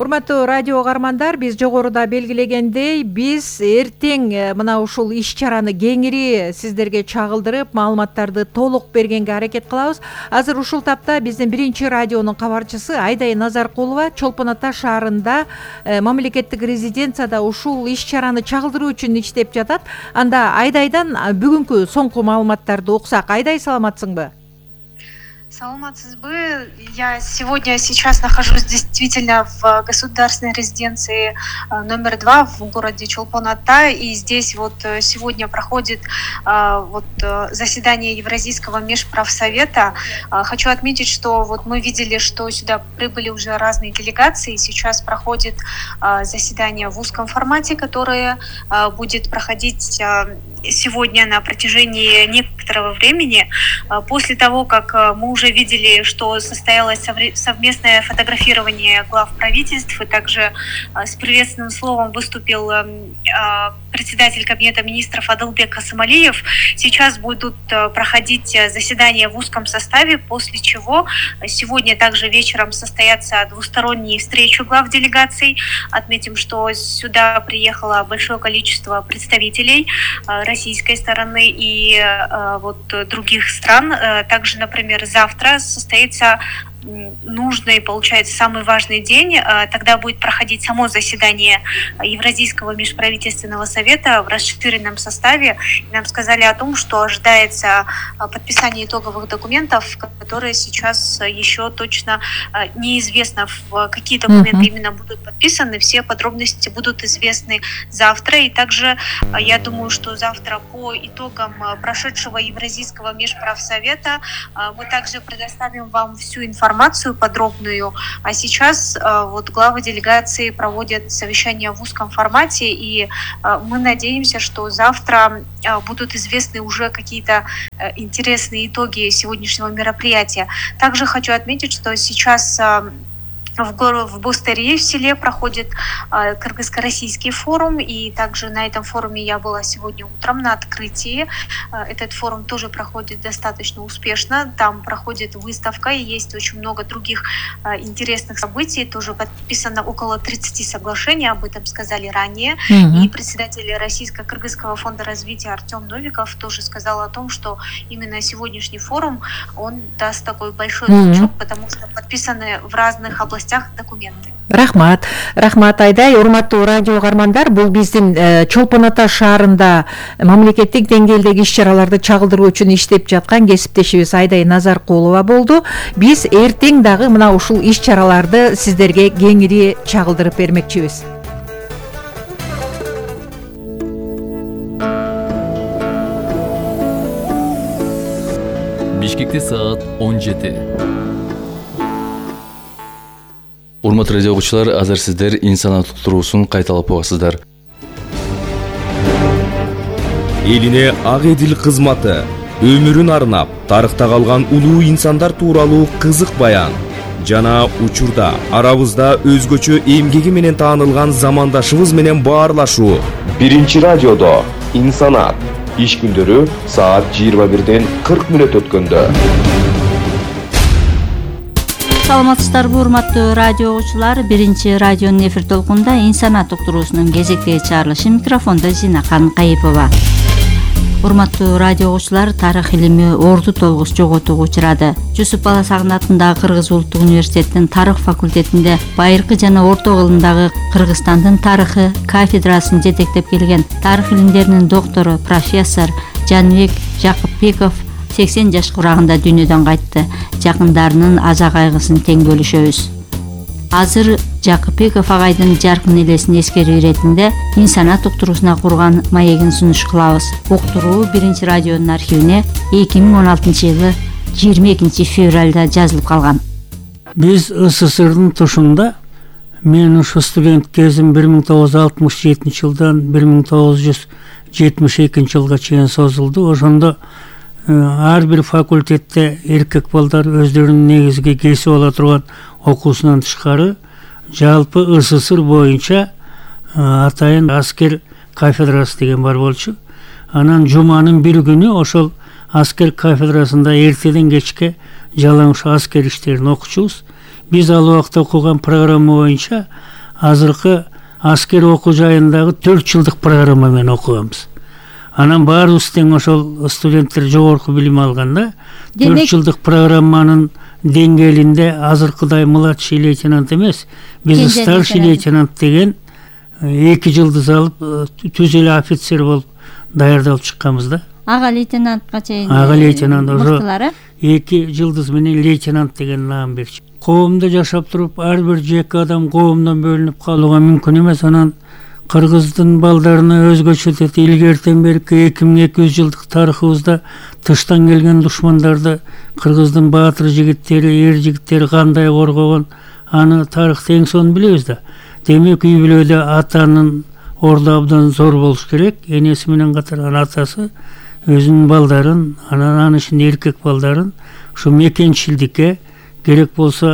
Урматтуу радио угармандар, биз жогоруда белгилегендей, биз эртең мына ушул иш-чараны кеңири сиздерге чагылдырып, маалыматтарды толук бергенге аракет кылабыз. Азыр ушул тапта биздин биринчи радионун кабарчысы Айдай Назаркулова Чолпон Ата шаарында мамлекеттик резиденцияда ушул иш-чараны чагылдыруу үчүн иштеп жатат. Анда Айдайдан бүгүнкү соңку маалыматтарды уксак. Айдай, саламатсыңбы? Саламатсызбы. Я сейчас нахожусь действительно в государственной резиденции номер 2 в городе Чолпон-Ата, и здесь вот сегодня проходит заседание Евразийского межправсовета. Хочу отметить, что вот мы видели, что сюда прибыли уже разные делегации. Сейчас проходит заседание в узком формате, которое будет проходить сегодня на протяжении некоторого времени. После того, как мы уже видели, что состоялось совместное фотографирование глав правительств, и также с приветственным словом выступил председатель Кабинета министров Адылбек Касымалиев, сейчас будут проходить заседания в узком составе, после чего сегодня также вечером состоятся двусторонние встречи глав делегаций. Отметим, что сюда приехало большое количество представителей российской стороны и других стран. Также, например, завтра состоится нужный, получается, самый важный день. Тогда будет проходить само заседание Евразийского межправительственного совета в расширенном составе. Нам сказали о том, что ожидается подписание итоговых документов, которые сейчас еще точно неизвестно, в какие документы именно будут подписаны. Все подробности будут известны завтра. И также я думаю, что завтра по итогам прошедшего Евразийского межправсовета мы также предоставим вам всю информацию подробную. А сейчас главы делегации проводят совещание в узком формате, и мы надеемся, что завтра будут известны уже какие-то интересные итоги сегодняшнего мероприятия. Также хочу отметить, что сейчас в Бустырье в селе проходит кыргызско-российский форум, и также на этом форуме я была сегодня утром на открытии. Этот форум тоже проходит достаточно успешно, там проходит выставка, и есть очень много других интересных событий, тоже подписано около 30 соглашений, об этом сказали ранее, и председатель Российско-Кыргызского фонда развития Артем Новиков тоже сказал о том, что именно сегодняшний форум, он даст такой большой толчок, потому что подписаны в разных областях документы. Рахмат Айдай. Урматтуу радио угармандар, бул биздин Чолпон Ата шаарында мамлекеттик деңгээлдеги иш-чараларды чагылдыруу үчүн иштеп жаткан кесиптешибиз Айдай Назаркулова болду. Биз эртең дагы мына ушул иш-чараларды сиздерге кеңири чагылдырып бермекчибиз. Бишкекте саат 17. Урматтуу радио окуучулар, азыр сиздер инсан туктуруусун кайталап угасыздар. Элине ак эдил кызматы, өмүрүн арнап, тарыхта калган улуу инсандар тууралуу кызык баян жана учурда арабызда өзгөчө эмгеги менен таанылган замандашыбыз менен баарлашуу. Биринчи радиодо инсанат иш күндөрү саат 21:40 өткөндө. Саламатсыздарбы, урматтуу радио окуучулар. Биринчи радионун эфир толкунда инсанат уктуруусунун кезектеги чыгарылышы, микрофондо Зинакан Кайыпова. Урматтуу радио окуучулар, тарых илими орду толгус жоготууга учурады. Жусуп Баласагын атындагы Кыргыз улуттук университетинин тарых факультетинде байыркы жана орто кылымдагы Кыргызстандын тарыхы кафедрасын жетектеп келген тарых илимдеринин доктору профессор Жанбек Жакыпбеков 80 жаш курагында дүйнөдөн кайтты. Жакындарынын аза кайгысын тең бөлүшөбүз. Азыр Жакыпбеков агайдын жаркын элесин эскерүү иретинде инсанат уктуруусуна курган маегин сунуш кылабыз. Уктуруу биринчи радионун архивине 2016-жылы 22 февралда жазылып калган. Биз СССРдын тушунда, мен ушу студент кезим 1967 жылдан 1972 жылга чейин созулду. Ошондо ар бир факультетте эркек балдар өздөрүнүн негизги кесип ала турган окуусунан тышкары жалпы СССР боюнча атайын аскер кафедрасы деген бар болчу. Анан жуманын бир күнү ошол аскер кафедрасында эртеден кечке жалаң аскер иштерин окучубуз. биз ал убакта окуган программа боюнча азыркы аскер окуу жайындагы 4 жылдык программа менен окуганбыз. Анан баарыбыз тең ошол студенттер жогорку билим алганда 4 жылдык программанын деңгээлинде азыркыдай младший лейтенант эмес, биз старший лейтенант деген 2 жылдыз алып түз эле офицер болуп даярдалып чыкканбыз да. Ага лейтенантка чейин. Ага лейтенант ошо 2 жылдыз менен лейтенант деген наам берчү. Коомдо жашап туруп ар бир жеке адам коомдон бөлүнүп калууга мүмкүн эмес. Анан кыргыздын балдарына өзгөчө деп илгертен берки 2200 жылдык тарыхыбызда тыштан келген душмандарды кыргыздын баатыр жигиттери, эр жигиттери кандай коргогон, аны тарыхты эң сонун билебиз да. Демек үй бүлөдө атанын орду абдан зор болуш керек. Энеси менен катар атасы өзүнүн балдарын, анан ишин эркек балдарын ушу мекенчилдикке, керек болсо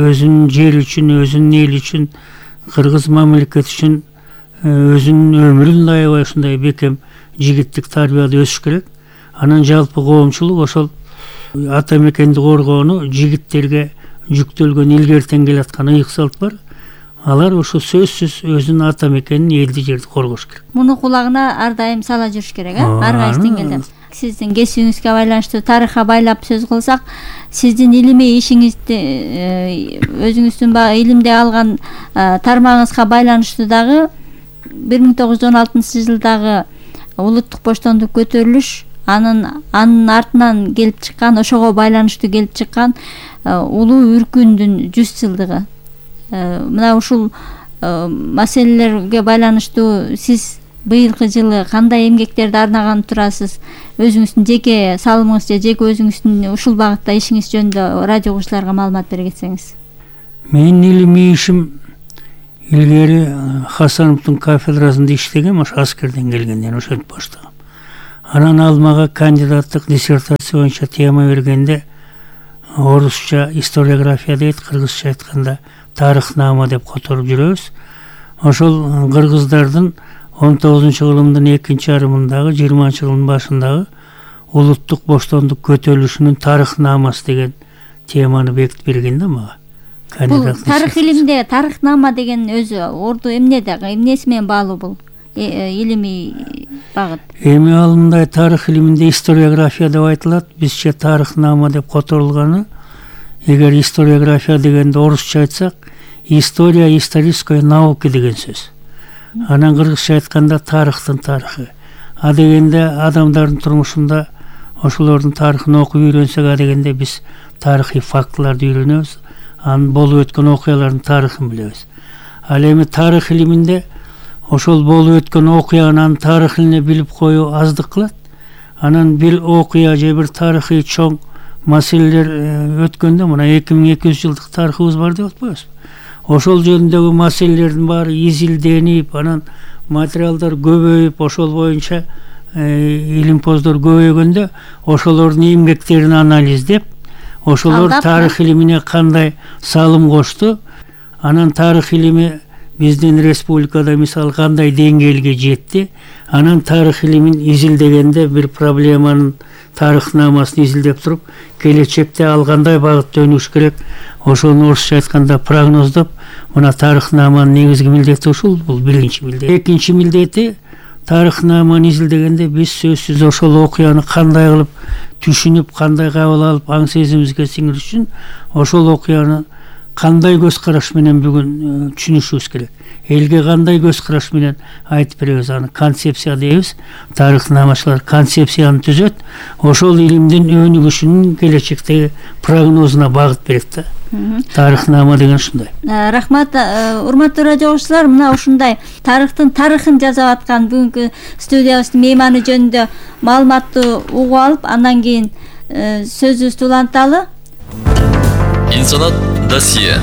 өзүнүн жери үчүн, өзүнүн эли үчүн, кыргыз мамлекети үчүн өзүнүн өмүрүн аябай ушундай бекем жигиттик тарбияда өсүш керек. Анан жалпы коомчулук ошол ата мекенди коргоону жигиттерге жүктөлгөн илгертен келаткан ыйык салт бар. Алар ошо сөзсүз өзүнүн ата мекенин, элди жерди коргош керек. Муну кулагына ар дайым сала жүрүш керек, ар кайсы деңгээлде. Сиздин кесибиңизге байланыштуу тарыхка байлап сөз кылсак, сиздин илимий ишиңизди өзүңүздүн баягы илимде алган тармагыңызга байланыштуу дагы 1916 жылдагы улуттук боштондук көтөрүлүш, анын артынан келип чыккан, ошого байланыштуу келип чыккан улуу үркүндүн 100 жылдыгы. Мына ушул маселелерге байланыштуу сиз быйылкы жылы кандай эмгектерди арнаган турасыз? Өзүңүздүн жеке салымыңыз же жеке өзүңүздүн ушул багытта ишиңиз жөнүндө радио угуучуларга маалымат бере кетсеңиз. Менин илимий ишим илгери Хасановдун кафедрасында иштегем, ошо аскерден келгенден ошентип баштагам. Анан ал мага кандидаттык диссертация боюнча тема бергенде орусча историография дейт, кыргызча айтканда тарыхнама деп которуп жүрөбүз. Ошол кыргыздардын 19-кылымдын экинчи жарымындагы 20-жылдын башындагы улуттук боштондук көтөрүлүшүнүн тарыхнамасы деген теманы бекитип берген да мага. Бул тарых илимде тарыхнама деген өзү орду эмнеси менен баалуу бул илимий багыт? Эми ал мындай тарых илиминде историография деп айтылат, бизче тарыхнама деп которулганы. Эгер историография дегенде орусча айтсак, история исторической науки деген сөз. Анан кыргызча айтканда тарыхтын тарыхы. А дегенде адамдардын турмушунда ошолордун тарыхын окуп үйрөнсөк, а дегенде биз тарыхый фактыларды үйрөнөбүз, анын болуп өткөн окуялардын тарыхын билебиз. Ал эми тарых илиминде ошол болуп өткөн окуянын тарыхын билип коюу аздык кылат. Анан бир окуя же бир тарыхый чоң маселелер өткөндө, мына 2200 жылдык тарыхыбыз бар деп атпайбызбы? Ошол жөнүндөгү маселелердин баары изилденип, анан материалдар көбөйүп, ошол боюнча илимпоздор көбөйгөндө, ошолордун эмгектерин анализдеп, ошолор тарых илимине кандай салым кошту, анан тарых илими биздин республикада мисалы кандай деңгээлге жетти, анан тарых илимин изилдегенде бир проблеманын тарыхнамасын изилдеп туруп, келечекте ал кандай багытта өнүгүш керек, ошону орусча айтканда прогноздоп, мына тарыхнаманын негизги милдети ушул, бул биринчи милдет. Экинчи милдети тарыхнаманы изилдегенде биз сөзсүз ошол окуяны кандай кылып түшүнүп, кандай кабыл алып, аң сезимибизге сиңириш үчүн ошол окуяны кандай көз караш менен бүгүн түшүнүшүбүз керек. Элге кандай көз караш менен айтып беребиз, аны концепция дейбиз. Тарыхнамачылар концепцияны түзөт, ошол илимдин өнүгүшүнүн келечектеги прогнозуна багыт берет да. Тарыхнама деген ушундай. Рахмат, урматтуу радио угуучулар, мына ушундай тарыхтын тарыхын жасап аткан бүгүнкү студиябыздын мейманы жөнүндө маалыматты угуп алып, андан кийин сөзүбүздү уланталы. Инсанат досье.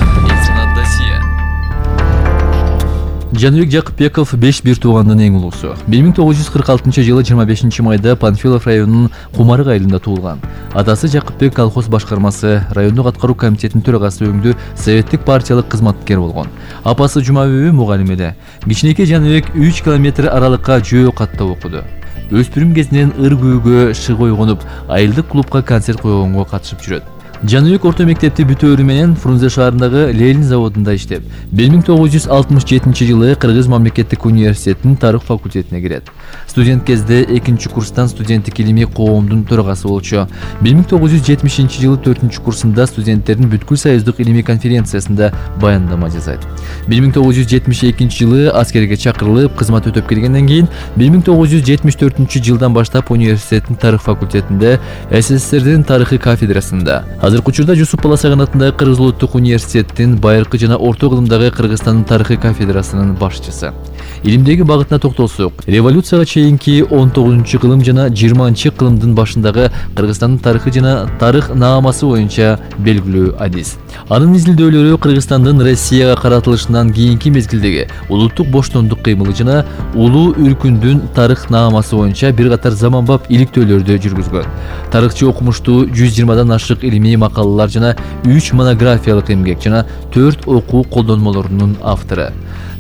Жаныбек Жакыпбеков 5 бир туугандын эң улуусу. 1946 жылы 25 майда Панфилов районунун Кумарык айылында туулган. Атасы Жакыпбек колхоз башкармасы, райондук аткаруу комитетинин төрагасы өңдүү советтик партиялык кызматкер болгон. Апасы Жумабүбү мугалим эле. Кичинекей Жаныбек 3 километр аралыкка жөө катта окуду. Өспүрүм кезинен ыр күүгө шыгы ойгонуп, айылдык клубка концерт койгонго катышып жүрөт. Жаныбек орто мектепти бүтөөрү менен Фрунзе шаарындагы Ленин заводунда иштеп, 1967 Кыргыз мамлекеттик университетинин тарых факультетине кирет. Студент кезде 2-курстан студенттик илимий коомдун төрагасы болчу. 1970 4 курсунда студенттердин бүткүл союздук илимий конференциясында баяндама жасайт. 1972 аскерге чакырылып, кызмат өтөп келгенден кийин 1974 баштап университеттин тарых факультетинде СССРдин тарыхы кафедрасында, азыркы учурда Жусуп Баласаган атындагы Кыргыз улуттук университеттин байыркы жана орто кылымдагы Кыргызстандын тарыхы кафедрасынын башчысы. Илимдеги багытына токтолсок, революцияга чейинки 19-кылым жана 20-кылымдын башындагы Кыргызстандын тарыхы жана тарых наамасы боюнча белгилүү адис. Анын изилдөөлөрү Кыргызстандын Россияга каратылышынан кийинки мезгилдеги улуттук боштондук кыймылы жана улуу үркүндүн тарых наамасы боюнча бир катар заманбап иликтөөлөрдү жүргүзгөн. Тарыхчы окумуштуу 120 ашык илимий макалалар жана 3 монографиялык эмгек жана 4 окуу колдонмолорунун автору.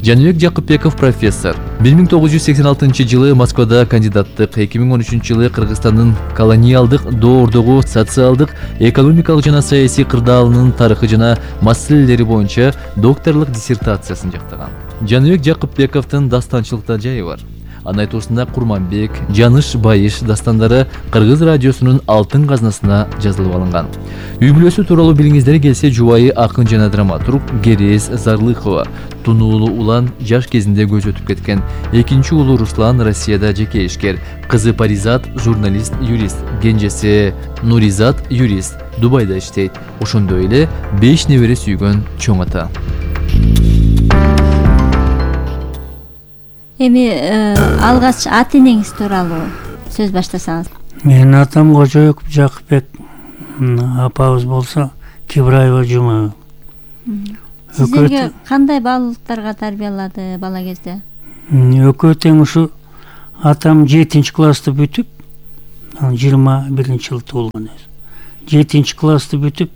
Жаныбек Жакыпбеков профессор. 1986 Москвада кандидаттык, 2013 Кыргызстандын колониалдык доордогу социалдык, экономикалык жана саясий кырдаалынын тарыхы жана маселелери боюнча докторлук диссертациясын жактаган. Жаныбек Жакыпбековдун дастанчылыкта жайы бар. Анын айтуусунда Курманбек, Жаныш Байыш дастандары Кыргыз радиосунун алтын казнасына жазылып алынган. Үй бүлөсү тууралуу билгиңиздер келсе, жубайы акын жана драматург Герез Зарлыхова, тунуулуу улан жаш кезинде көз өтүп кеткен. Экинчи уулу Руслан Россияда жеке ишкер, кызы Паризат журналист, юрист, кенжеси Нуризат юрист, Дубайда иштейт. Ошондой эле 5 небере сүйгөн чоң ата. Эми алгач аты энеңиз тууралуу сөз баштасаңыз. Менин атам Кожоюк Жакыпбек, апабыз болсо Кибраева Жума. Сиздерге кандай баалуулуктарга тарбиялады бала кезде? Экөө тең ушу атам 7-классты бүтүп, 21-жылы туулган өзү. 7-классты бүтүп,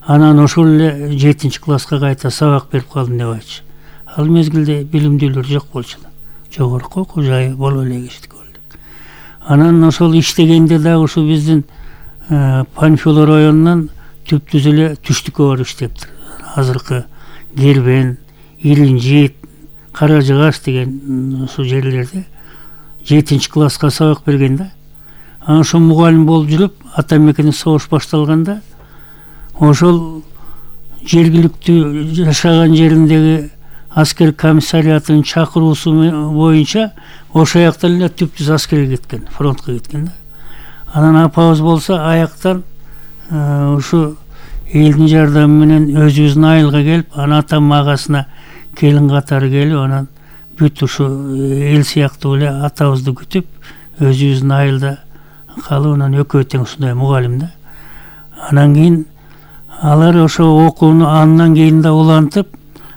анан ошол эле 7-класска кайта сабак берип калдым деп айтчу. Ал мезгилде билимдүүлөр жок болчу. Жогорку окуу жайы боло элек иштик. Анан ошол иштегенде дагы ушу биздин Панфилов районунан түп-түз эле түштүккө барып иштептир. Азыркы Гербен, Иринжит, Кара Жыгаш деген ошол жерлерде 7-класска сабак берген да. Анан ошо мугалим болуп жүрүп, ата мекенде согуш башталганда ошол жергиликтүү жашаган жериндеги аскер комиссариятынын чакыруусу боюнча ошол жактан эле түп-түз аскерге кеткен, фронтко кеткен да. Анан апабыз болсо аяктан ушу элдин жардамы менен өзүбүздүн айылга келип, анан атам агасына келин катары келип, анан бүт ушу эл сыяктуу эле атабызды күтүп, өзүбүздүн айылда калып, анан экөө тең ушундай мугалим да. Анан кийин алар ошо окууну андан кийин да улантып,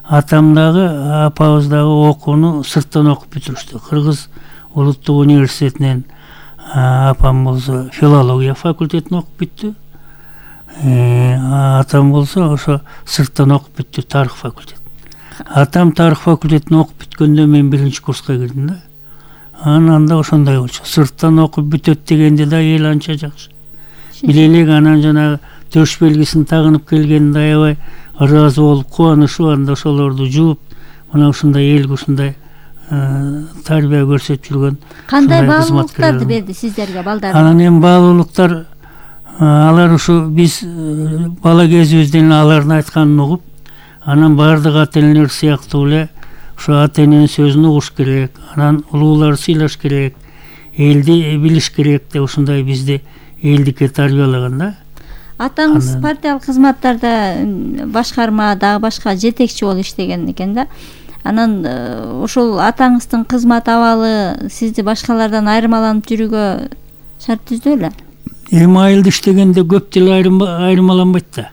атам дагы, апабыз дагы окууну сырттан окуп бүтүрүштү. Кыргыз улуттук университетинен апам болсо филология факультетин окуп бүттү. Атам болсо ошо сырттан окуп бүттү, тарых факультет. Атам тарых факультетин окуп бүткөндө мен 1-курска кирдим да. Анан да ошондой болчу. Сырттан окуп бүтөт дегенде да эл анча жакшы. Билелек, анан жанагы төш белгисин тагынып келгенде аябай ыраазы болуп, кубанычуу, анда ошолорду жууп, мына ушундай элге ушундай тарбия көрсөтүп жүргөн. Кандай баалуулуктарды берди сиздерге балдар? Анан эми баалуулуктар, алар ушу биз бала кезибизден алардын айтканын угуп, анан баардык ата-энелер сыяктуу эле ушу ата-эненин сөзүн угуш керек, анан улууларды сыйлаш керек, элди билиш керек деп ушундай бизди элдикке тарбиялаган да. Атаңыз партиялык кызматтарда, башкарма, дагы башка жетекчи болуп иштеген экен да. Анан ошол атаңыздын кызмат абалы сизди башкалардан айырмаланып жүрүүгө шарт түздү эле? Эми айылда иштегенде көп деле айырмаланбайт да.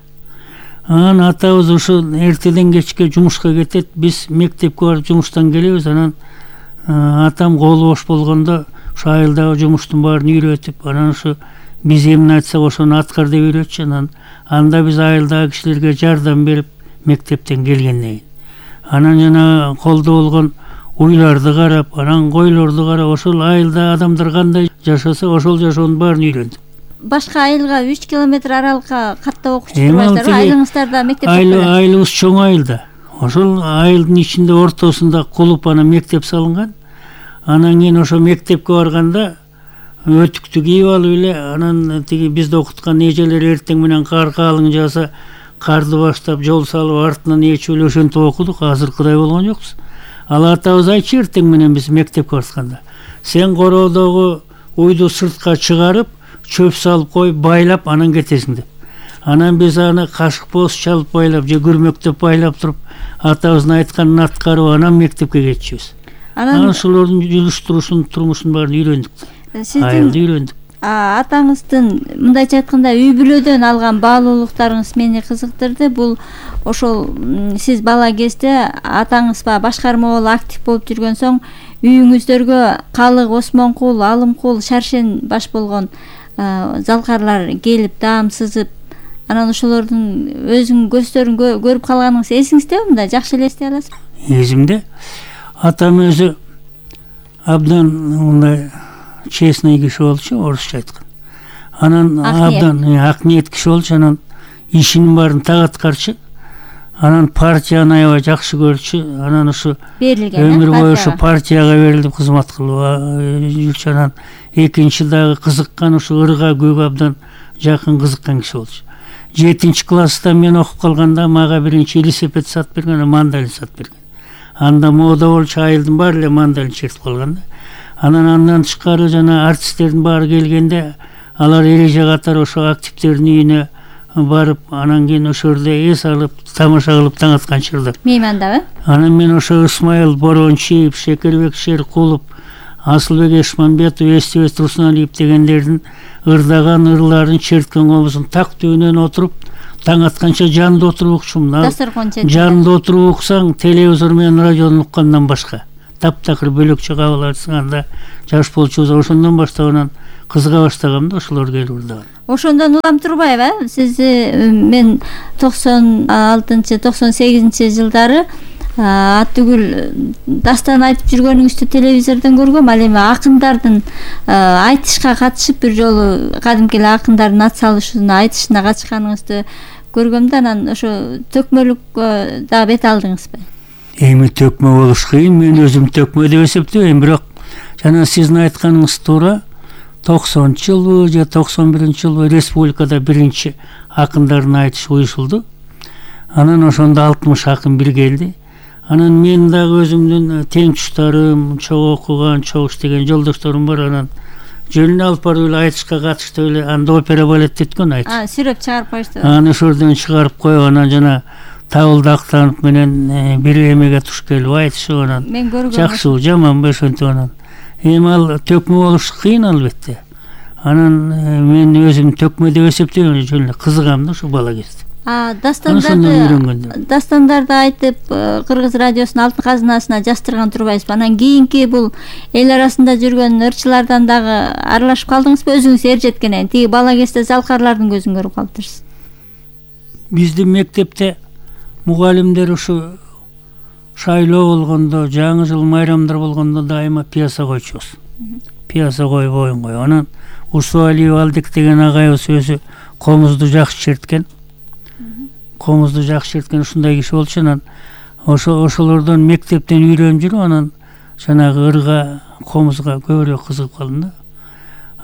Анан атабыз ушу эртеден кечке жумушка кетет, биз мектепке барып жумуштан келебиз. Анан атам колу бош болгондо ушу айылдагы жумуштун баарын үйрөтүп, анан ушу биз эмне айтсак ошону аткар деп үйрөтчү. Анан анда биз айылдагы кишилерге жардам берип мектептен келгенден кийин. Анан жана колдо болгон уйларды карап, анан койлорду карап, ошол айылда адамдар кандай жашаса, ошол жашоонун баарын үйрөндүк. башка айылга 3 километр аралыкка каттап окуучу турбайсыздарбы? Айылыңыздарда мектеп жок беле? Айылыбыз чоң айылда. Ошол айылдын ичинде ортосунда кулуп анан мектеп салынган. Анан кийин ошо мектепке барганда өтүктү кийип алып эле анан тиги бизди окуткан эжелер эртең менен кар каалың жааса карды баштап жол салып артынан ээчип эле ошентип окудук. Азыркыдай болгон жокпуз. Ал атабыз айтчу эртең менен биз мектепке баратканда, сен короодогу уйду сыртка чыгарып, чөп салып коюп байлап анан кетесиң деп. Анан биз аны кашык боз чалып байлап же күрмөктөп байлап туруп атабыздын айтканын аткарып анан мектепке кетчүбүз. Анан ошолордун жүрүш-турушун, турмушун баарын үйрөндүк. Айылды үйрөндүк. Атаңыздын мындайча айтканда үй бүлөдөн алган баалуулуктарыңыз мени кызыктырды. Бул ошол сиз бала кезде атаңыз башкарма болуп актив болуп жүргөн соң үйүңүздөргө Калык, Осмонкул, Алымкул, Шаршен баш болгон залкарлар келип даам сызып, анан ошолордун өзүңүн көздөрүн көрүп калганыңыз эсиңиздеби? Мындай жакшы эле эстей аласызбы? Эсимде. Атам өзү абдан мындай честный киши болчу, орусча айткан. Анан абдан ак ниет киши болчу, анан ишинин баарын так аткарчу. Анан партияны аябай жакшы көрчү. Анан ушу өмүр бою ушу партияга берилип кызмат кылып жүрчү. Анан экинчи дагы кызыккан, ушу ырга көккө абдан жакын кызыккан киши болчу. 7-класста мен окуп калганда мага биринчи велосипед сатып берген, мандалин сатып берген. Анда мода болчу, айылдын баары эле мандалин чертип калган. Анан андан тышкары жана артисттердин баары келгенде алар эреже катары ошо активдердин үйүнө барып, анан кийин ошол жерде эс алып, тамаша кылып таң атканчылар. Меймандабы? Анан мен ошо Исмайыл Борончиев, Шекербек Шеркулов, Асылбек Эшмамбетов, Эстебес Турсуналиев дегендердин ырдаган ырларын черткен образын так төбүнөн отуруп, таң атканча жанында отуруп укчумун. Жанында отуруп уксаң, телевизор менен радиодон уккандан башка таптакыр бөлөкчө кабыл айтсаң, анда жаш болчубуз. Ошондон баштап анан кызыга баштагам да ошолор келип ырдаган. Ошондон улам турбайбы? Сизди мен 96-98 жылдары Аттүгүл дастан айтып жүргөнүңүздү телевизордон көргөм. Ал эми акындардын айтышка катышып бир жолу кадимки эле акындардын ат салышына, айтышына катышканыңызды көргөм да, анан ошо төкмөлүк да бет алдыңызбы? Эми төкмө болуш кыйын, мен өзүм төкмө деп эсептейм, бирок жана сиздин айтканыңыз туура. 90-жылбы же 91-жылбы республикада биринчи акындардын айтышы уюшулду. Анан ошондо 60 акын бир келди. Анан мен дагы өзүмдүн тең туштарым, чогуу окуган, чогуу иштеген жолдошторум бар. Анан жөнүнө алып барып эле айтышка катыштып эле, анда опера балет өткөн айтыш. Сүрөп чыгарып коюшту. Аны ошордон чыгарып коюп, анан жана Табылды Актанов менен бир эмеге туш келип айтышып, анан жакшыбы, жаманбы ошентип анан. Эми ал төкмө болуш кыйын албетте. Анан мен өзүм төкмө деп эсептейм, жөн эле кызыгам да ошо бала кезде. Дастандарды айтып Кыргыз радиосунун алтын казынасына жаздырган турбайсызбы? Анан кийинки бул эл арасында жүргөн ырчылардан дагы аралашып калдыңызбы? Өзүңүз эр жеткенен тиги бала кезде залкарлардын көзүн көрүп калыптырсыз. Биздин мектепте мугалимдер ушу шайлоо болгондо, жаңы жыл майрамдар болгондо дайыма пьеса койчубуз. Пьеса коюп оюн коюп. Анан Усуалиев Алдек деген агайыбыз өзү комузду жакшы черткен. Комузду жакшы черткен ушундай киши болчу. Анан ошолордон мектептен үйрөнүп жүрүп, анан жанагы ырга, комузга көбүрөөк кызыгып калдым да.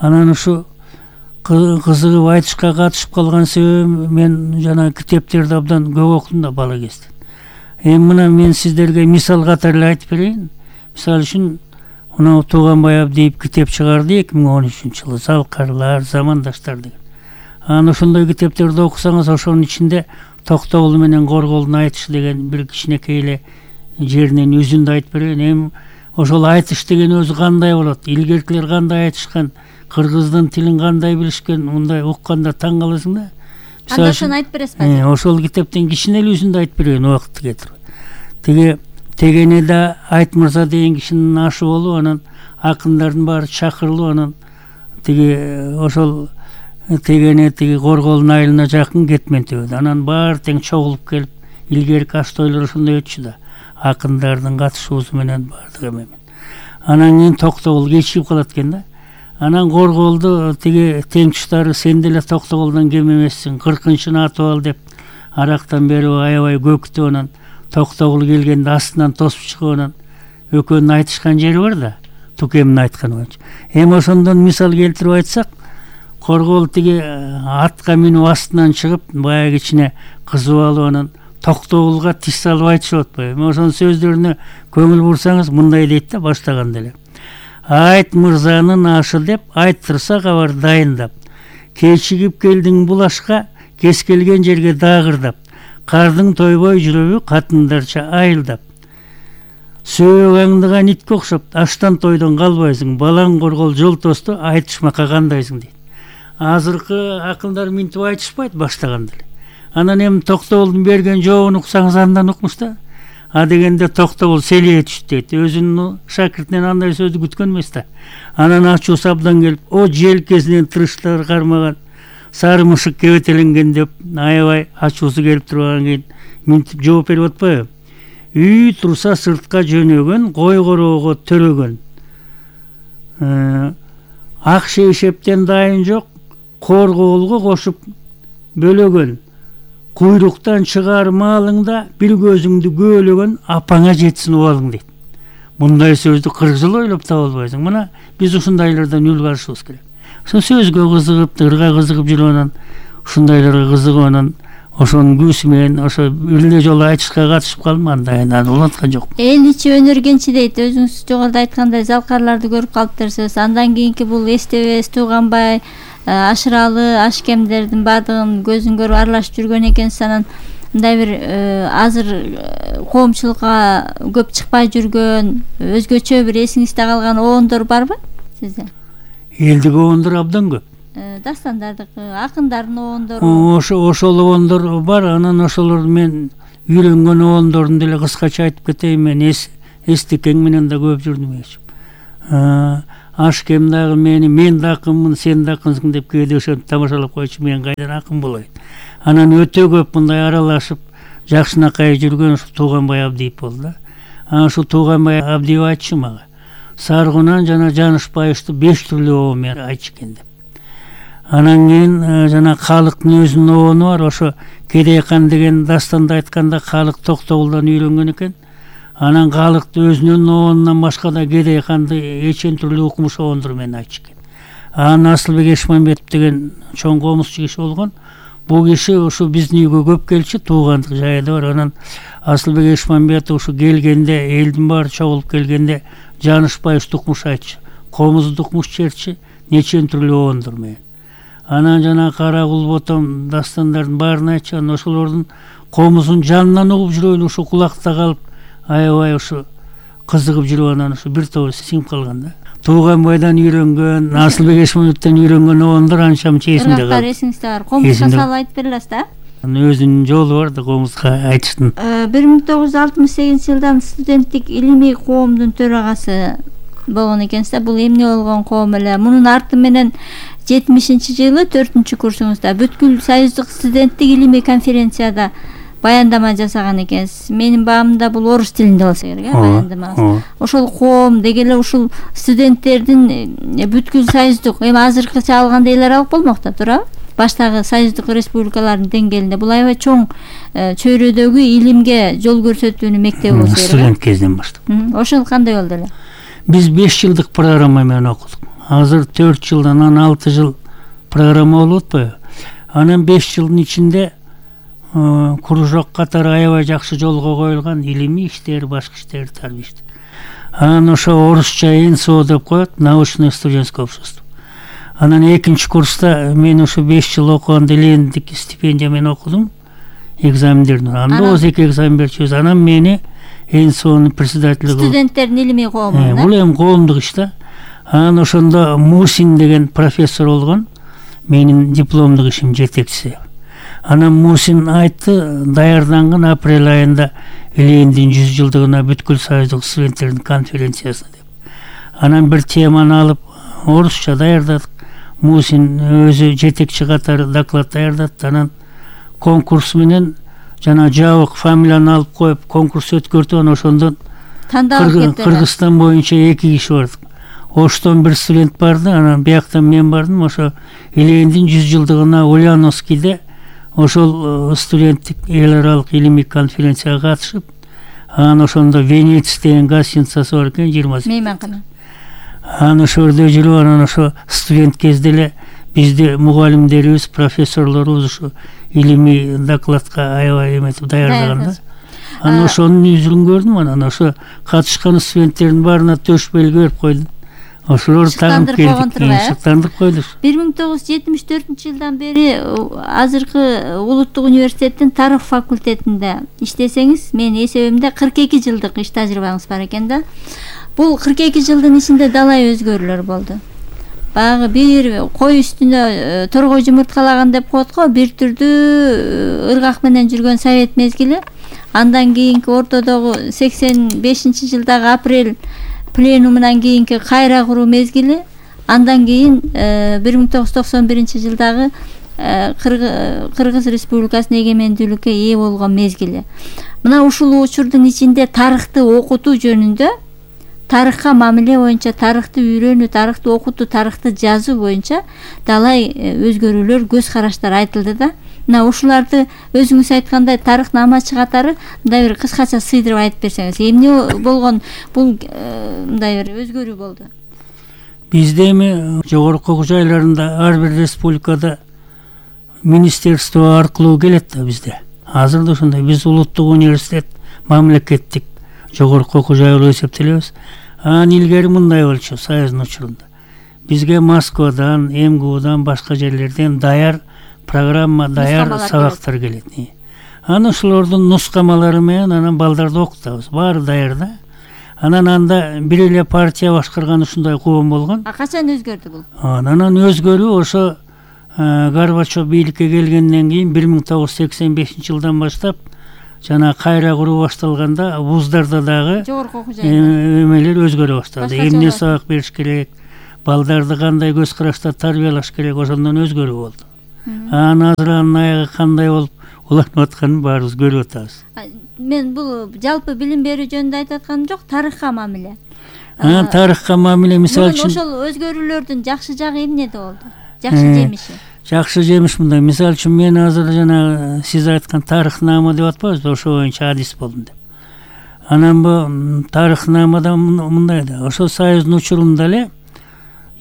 Анан ушу кызыгып айтышка катышып калган себебим, мен жана китептерди абдан көп окудум да бала кезде. Эми мына мен сиздерге мисал катары эле айтып берейин. Мисалы үчүн мына Тууганбай Абдиев китеп чыгарды 2013-жылы, Залкарлар, Замандаштар деген. Анан ошондой китептерди окусаңыз, ошонун ичинде Токтогул менен Корголдун айтышы деген бир кичинекей эле жеринен үзүндү айтып берейин. Эми ошол айтыш деген өзү кандай болот? Илгеркилер кандай айтышкан? Кыргыздын тилин кандай билишкен? Мындай укканда таң каласың да. Анда ошону айтып бересизби? Ошол китептен кичине эле үзүндү айтып берейин убакытты кетирип. Тиги Тегенеде Айт Мырза деген кишинин ашы болуп, анан акындардын баары чакырылып, анан тиги ошол Тегене тиги Корголдун айылына жакын Кетмен төбөдө. Анан баары тең чогулуп келип, илгерки аш тойлор ошондой өтчү да. Акындардын катышуусу менен баардыгы менен. Анан кийин Токтогул кечигип калат экен да. Анан Корголду тиги тең туштары сен деле Токтогулдан кем эмессиң, 40-чыны атып ал деп арактан берип аябай көктүп анан Токтогул келгенде астынан тосуп чыгып анан экөөнүн айтышкан жери бар да, Тукемдин айтканы боюнча. Эми ошондон мисал келтирип айтсак, Коргол тиги атка минип астынан чыгып, баягы ичине кызып алып анан Токтогулга тиш салып айтышып атпайбы? Эми ошонун сөздөрүнө көңүл бурсаңыз мындай дейт да баштаганда эле. Айт мырзанын ашы деп, айттырса кабар дайындап. Кечигип келдиң бул ашка, кез келген жерге дагырдап. Кардың тойбой жүрөбү катындарча айылдап. Сөөк аңдыган итке окшоп, аштан тойдон калбайсың. Балаң Коргол жол тосту, айтышмакка кандайсың дейт. Азыркы акылдар минтип айтышпайт баштаганда эле. Анан эми Токтогулдун берген жообун уксаңыз андан укмуш да. А дегенде Токтогул селие түштү дейт. Өзүнүн шакиртинен андай сөздү күткөн эмес да. Анан ачуусу абдан келип, о желкесинен тырыштар кармаган сары мышык кебетеленген деп аябай ачуусу келип тургандан кийин минтип жооп берип атпайбы? Үй турса сыртка жөнөгөн, кой короого төрөгөн. Ак шейшептен дайын жок, Корголго кошуп бөлөгөн. Куйруктан чыгар малыңда бир көзүңдү көөлөгөн, апаңа жетсин убалың дейт. Мындай сөздү 40 жыл ойлоп таба албайсың. Мына биз ушундайлардан үлгү алышыбыз керек. Ошо сөзгө кызыгып, тырга кызыгып жүрүп анан ушундайларга кызыгып анан ошонун күсү менен ошо бир жолу айтышка катышып калдым, андан уланткан жок. Эл ичи өнөргенчи дейт. Өзүңүз жогоруда айткандай залкарларды көрүп калыптырсыз. Андан кийинки бул Эстебес, Тууганбай, Ашыралы, Ашкемдердин баардыгын көзүн көрүп аралашып жүргөн экенсиз. Анан мындай бир азыр коомчулукка көп чыкпай жүргөн, өзгөчө бир эсиңизде калган оондор барбы сизде? Элдик оондор абдан көп. Дастандардыкы, акындардын оондору. Ошол оондор бар. Анан ошолорду мен үйрөнгөн оондордун деле кыскача айтып кетейин. Мен Эстекең менен да көп жүрдүм. Ашкем дагы мен да акынмын, сен да акынсың деп кээде ошентип тамашалап койчу, мен кайдан акын болоюн. Анан өтө көп мындай аралашып жакшынакай жүргөн ушу Тууганбай Абдиев болду да. Анан ушу Тууганбай Абдиев айтчу мага, Саргунан жана Жанышбаевди 5 түрлүү оо менен айтчу экен деп. Анан кийин жана калыктын өзүнүн оону бар. Ошо Кедейкан деген дастанды айтканда калык Токтогулдан үйрөнгөн экен. Анан калыкты өзүнүн оонунан башка да Кедейканды эчен түрлүү укмуш оондор менен айтчу экен. Анан Асылбек Эшмамбетов деген чоң комузчу киши болгон. Бул киши ушу биздин үйгө көп келчү, туугандык жайы бар. Анан Асылбек Эшмамбетов ушу келгенде, элдин баары чогулуп келгенде Жанышбаевди укмуш айтчу, комузду укмуш чертчи, нечен түрлүү оондор менен. Анан жана Кара Кулботом дастандардын баарын айтчу. Анан ошолордун комузун жанынан угуп жүрөйлү ушу кулакта калып, аябай ушу кызыгып жүрүп анан ушу бир тобу сиңип калган да. Тууганбайдан үйрөнгөн, Асылбек Эшмамбетовдон үйрөнгөн оондор анча-мынча эсимде калды. Эсиңизде бар. Комузга салып айтып бере аласыз да? Өзүнүн жолу бар да комузга айтыштын. 1968 жылдан студенттик илимий коомдун төрагасы болгон экенсиз да. Бул эмне болгон коом эле? Мунун арты менен 70-жылы 4-курсуңузда бүткүл союздук студенттик илимий конференцияда баяндама жасаган экенсиз. Менин баамда бул орус тилинде болсо керек, баяндамаңыз. Ошол коом деги эле ушул студенттердин бүткүл союздук, эми азыркыча алганда эл аралык болмок да, туурабы? Баштагы союздук республикалардын деңгээлинде бул аябай чоң чөйрөдөгү илимге жол көрсөтүүнүн мектеби болсо керек. Студент кезинен баштап. Ошол кандай болду эле? Биз 5 жылдык программа менен окудук. Азыр 4 жылдан анан 6 жыл программа болуп атпайбы? Анан 5 жылдын ичинде кружок катары аябай жакшы жолго коюлган, илимий иштер, башка иштер, тарбий иштер. Анан ошо орусча НСО деп коет, научное студенческое общество. Анан 2-курста мен ошо 5 жыл окуганда лендик стипендия менен окудум, экзамендерди. Анда 12 экзамен берчүбүз. Анан мени НСОнун председатели студенттердин илимий коому. Бул эми коомдук иш да. Анан ошондо Мусин деген профессор болгон, менин дипломдук ишим жетекчиси. Анан Мусин айтты, даярданган апрель айында Лениндин 100 жылдыгына бүткүл союздук студенттердин конференциясына деп. Анан бир теманы алып орусча даярдадык. Мусин өзү жетекчи катары доклад даярдатты. Анан конкурс менен жана жабык фамилияны алып коюп конкурс өткөртүп, анан ошондон Кыргызстан боюнча 2 киши бардык. Оштон бир студент барды, анан бияктан мен бардым. Ошо Илендин 100 жылдыгына Ульяновскийде ошол студенттик эл аралык илимий конференцияга катышып, анан ошондо Венец деген гостиницасы бар экен, 28. мейманкана. Анан ошол жерде жүрүп, анан ошо студент кезде эле бизди мугалимдерибиз, профессорлорубуз ошо илимий докладка аябай эметип даярдаган да. Анан ошонун үзүн көрдүм, анан ошо катышкан студенттердин баарына төш белги берип койдум. Ошолор тагып келди, шыктандырып койду. 1974 жылдан бери азыркы улуттук университеттин тарых факультетинде иштесеңиз, менин эсебимде 42 жылдык иш тажрыйбаңыз бар экен да. Бул 42 жылдын ичинде далай өзгөрүүлөр болду. Баягы бир кой үстүнө торгой жумурткалаган деп коет го, бир түрдүү ыргак менен жүргөн совет мезгили. Андан кийинки ортодогу 85 жылдагы апрель пленумунан кийинки кайра куруу мезгили, андан кийин 1991 жылдагы Кыргыз Республикасынын эгемендүүлүккө ээ болгон мезгили. Мына ушул учурдун ичинде тарыхты окутуу жөнүндө, тарыхка мамиле боюнча, тарыхты үйрөнүү, тарыхты окутуу, тарыхты жазуу боюнча далай өзгөрүүлөр, көз караштар айтылды да. Мына ушуларды өзүңүз айткандай тарыхнамачы катары мындай бир кыскача сыйдырып айтып берсеңиз, эмне болгон бул мындай бир өзгөрүү болду? Бизде эми жогорку окуу жайларында ар бир республикада министерство аркылуу келет да бизде. Азыр да ошондой, биз улуттук университет, мамлекеттик жогорку окуу жай болуп эсептелебиз. Анан илгери мындай болчу Союздун учурунда. Бизге Москвадан, МГУдан, башка жерлерден даяр программа, даяр сабактар келет. Анан ошолордун нускамалары менен анан балдарды окутабыз. Баары даяр да. Анан анда бир эле партия башкарган ушундай коом болгон. Качан өзгөрдү бул? Анан өзгөрүү ошо Горбачев бийликке келгенден кийин 1985 жылдан баштап жана кайра куруу башталганда вуздарда дагы жогорку окуу жайларда эмелер өзгөрө баштады. Эмне сабак бериш керек, балдарды кандай көз карашта тарбиялаш керек, ошондон өзгөрүү болду. Анан азыр анын аягы кандай болуп уланып атканын баарыбыз көрүп атабыз. Мен бул жалпы билим берүү жөнүндө айтып атканым жок, тарыхка мамиле. Тарыхка мамиле мисалы үчүн ошол өзгөрүүлөрдүн жакшы жагы эмнеде болду? Жакшы жемиши. Жакшы жемиш мындай. Мисалы үчүн мен азыр жана сиз айткан тарыхнама деп атпайбызбы, ошо боюнча адис болдум деп. Анан бу тарыхнамада мындай да, ошо Союздун учурунда эле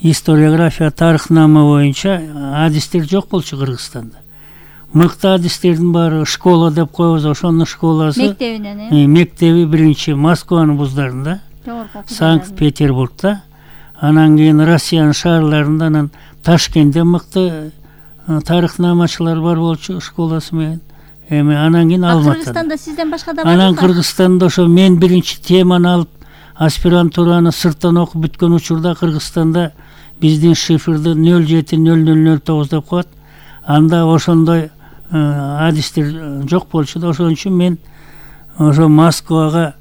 историография, тарыхнама боюнча адистер жок болчу Кыргызстанда. Мыкты адистердин баары школа деп коебуз, ошонун школасы мектебинен, мектеби биринчи Москванын вуздарында, Санкт-Петербургда, анан кийин Россиянын шаарларында, анан Ташкентте мыкты тарыхнамачылар бар болчу школасы менен. Эми анан кийин Алматыда. Кыргызстанда сизден башка да барбы? Анан Кыргызстанда ошо мен биринчи теманы алып аспирантураны сырттан окуп бүткөн учурда Кыргызстанда биздин шифрды 070009 деп коет. Анда ошондой адистер жок болчу да, ошон үчүн мен ошо Москвага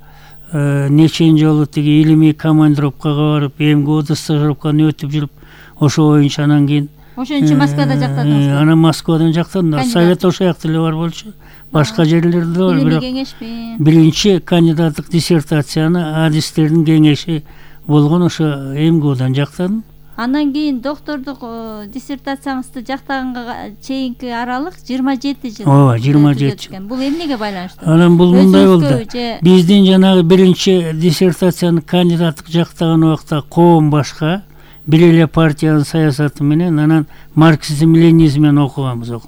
нечен жолу тиги илимий командировкага барып, МГУда стажировканы өтүп жүрүп, ошо боюнча анан кийин ошон үчүн Москвада жактадыңыз. Анан Москвадан жактадым. Совет ошо жакта эле бар болчу. Башка жерлерде бар, бирок биринчи кандидаттык диссертацияны адистердин кеңеши болгон ошо МГУдан жактадым. Андан кийин доктордук диссертацияңызды жактаганга чейинки аралык 27 жыл. Ооба, 27 жыл. Бул эмнеге байланыштуу? Анан бул мындай болду. Биздин жанагы биринчи диссертацияны кандидаттык жактаган убакта коом башка, бир эле партиянын саясаты менен, анан марксизм-ленинизм окуганбыз.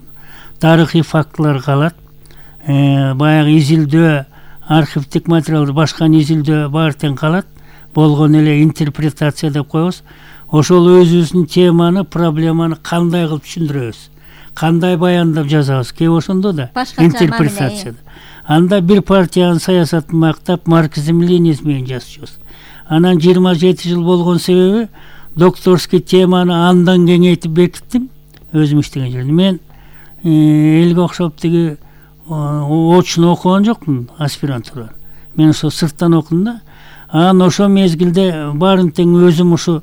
Тарыхый фактылар калат. Баягы изилдөө, архивдик материалдар, башка изилдөө баары тең калат. Болгон эле интерпретация деп коебуз. Ошол өзүбүздүн теманы, проблеманы кандай кылып түшүндүрөбүз, кандай баяндап жазабыз, кээ ошондо да интерпретацияда. Анда бир партиянын саясатын мактап, марксизм-ленинизм менен жазчубуз. Анан 27 жыл болгон себеби докторский теманы андан кеңейтип бекиттим өзүм иштеген жерде. Мен элге окшоп тиги очно окуган жокмун аспирантура. Мен ошо сырттан окудум да. Анан ошо мезгилде баарын тең өзүм ошо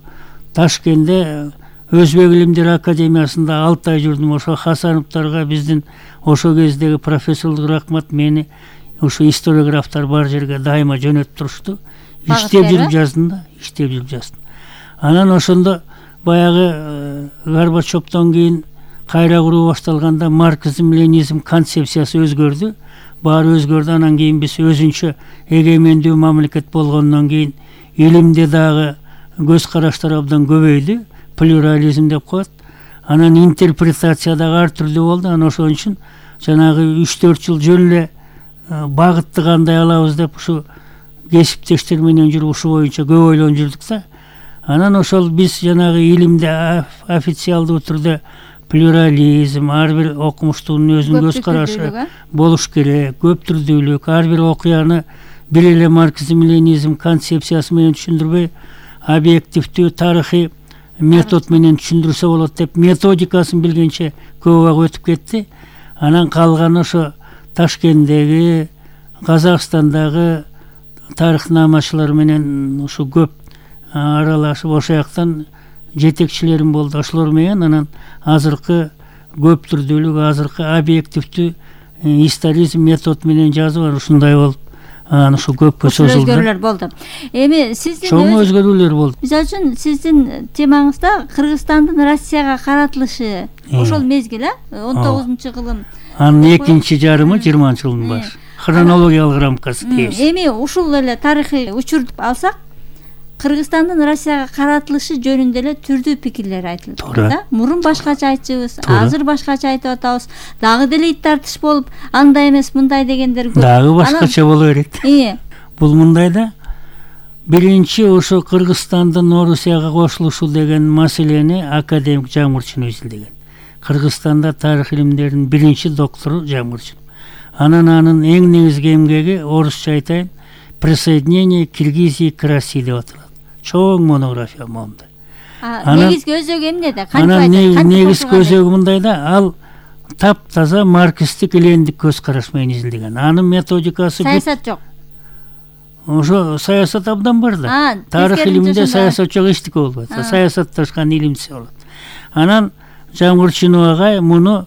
Ташкентте Өзбек илимдер академиясында 6 ай жүрдүм. Ошо Хасановтарга, биздин ошо кездеги профессорлук рахмат, мени ошо историографтар бар жерге дайыма жөнөтүп турушту. Иштеп жүрүп жаздым да, иштеп жүрүп жаздым. Анан ошондо баягы Горбачевдон кийин кайра куруу башталганда марксизм ленинизм концепциясы өзгөрдү. Баары өзгөрдү. Анан кийин биз өзүнчө эгемендүү мамлекет болгондон кийин илимде дагы көз караштар абдан көбөйдү. Плюрализм деп коет. Анан интерпретация дагы ар түрдүү болду. Анан ошон үчүн жанагы 3-4 жыл жөн эле багытты кандай алабыз деп ушу кесиптештер менен жүрүп ушу боюнча көп ойлонуп жүрдүк да. Анан ошол биз жанагы илимде официалдуу түрдө плюрализм, ар бир окумуштуунун өзүнүн көз карашы болуш керек, көп түрдүүлүк, ар бир окуяны бир эле марксизм ленинизм концепциясы менен түшүндүрбөй, объективдүү тарыхый метод менен түшүндүрсө болот деп методикасын билгенче көп убак өтүп кетти. Анан калганы ошо Ташкенттеги, Казакстандагы тарыхнамачылар менен ушу көп аралашып ошол жактан жетекчилерим болду. Ошолор менен анан азыркы көп түрдүүлүк, азыркы объективдүү историзм метод менен жазып ушундай болуп анан ушу көпкө созулду. Өзгөрүүлөр болду. Эми сиздин чоң өзгөрүүлөр болду. Мисалы үчүн сиздин темаңызда Кыргызстандын Россияга каратылышы ошол мезгил 19-жылым. Анын экинчи жарымы 20-жылдын башы. Хронологиялык рамкасы дейбиз. Эми ушул эле тарыхый учурду алсак, Кыргызстандын Россияга каратылышы жөнүндө эле түрдүү пикирлер айтылып жатат да. Мурун башкача айтчубуз, азыр башкача айтып атабыз. Дагы деле ит тартыш болуп, андай эмес, мындай дегендер көп. Дагы башкача боло берет. Бул мындай да. Биринчи ошо Кыргызстандын Орусияга кошулушу деген маселени академик Жамгырчын изилдеген. Кыргызстанда тарых илимдеринин биринчи доктору Жамгырчын. Анан анын эң негизги эмгеги орусча айтайын, присоединение Киргизии к России деп аталат. Чоң монография монда. Негизги өзөгү эмнеде? Анан негизги өзөгү мындай да, ал таптаза марксистик элендик көз караш менен изилдеген. Анын методикасы саясат жок. Ошо саясат абдан бар да. Тарых илиминде саясат жок, эчтеке болбойт. Саясатташкан илимси болот. Анан Жамгырчынов агай муну